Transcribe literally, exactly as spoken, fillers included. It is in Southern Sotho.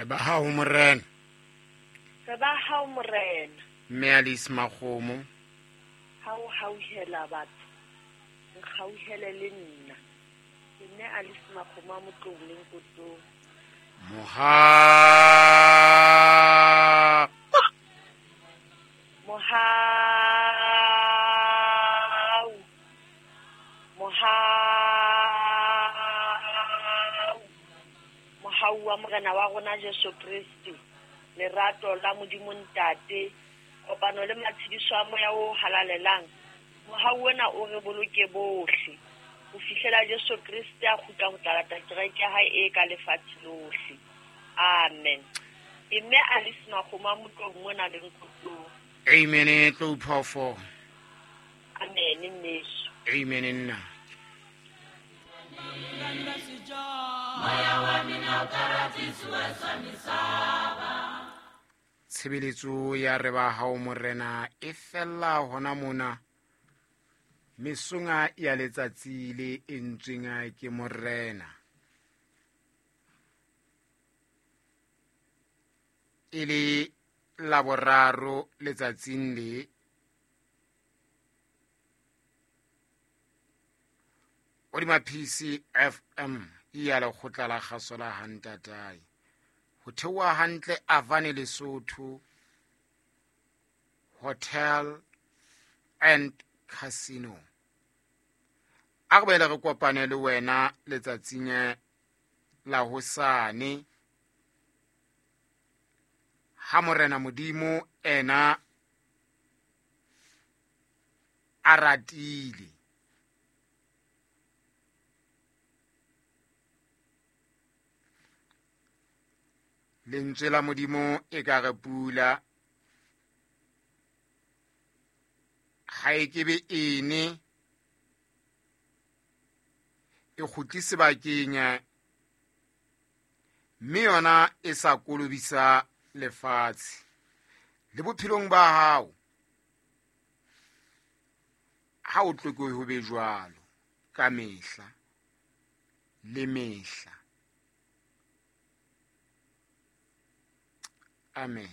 Re ba hao Morena. Re ba hao Morena. Mme Alice Makgomo. Ha o hauhela batho, nkgauhele le nna. Ke mme Alice Makgomo a Motlong le Nkotong. Moha Mohau. Mohau. Mohau wa Morena wa rona Jesu Kreste, lerato la Modimo Ntate, kopano le matshediso a Moya o halalelang, mohau ona o re boloke bohle ho fihlela Jesu Kreste a kgutla ho tla lata kereke ya hae e ka lefatshe lohle. Amen. Ke mme Alice Makgomo a Motlong mona le Nkotong. Amen. Tlo phofo. Amen mmeso. Amen nna. Tshebeletso ya re ba hao Morena e fella hona mona mesonga ya letsatsi le entsweng ke Morena. E le laboraro letsatsing le hodima P C F M ya lekgotla la kgaso la Hantatae. Ho theoha hantle Avane Lesotho Hotel and Casino. A re boele re kopane le wena letsatsing la hosane ha Morena Modimo ena a ratile. Lentswe la Modimo e ka re pula ha e kebe ene e kgutli sebakeng mme yona e sa kolobisa lefatshe. Le bophelong ba hao ha o tloke ho be jwalo ka mehla le mehla. Amen.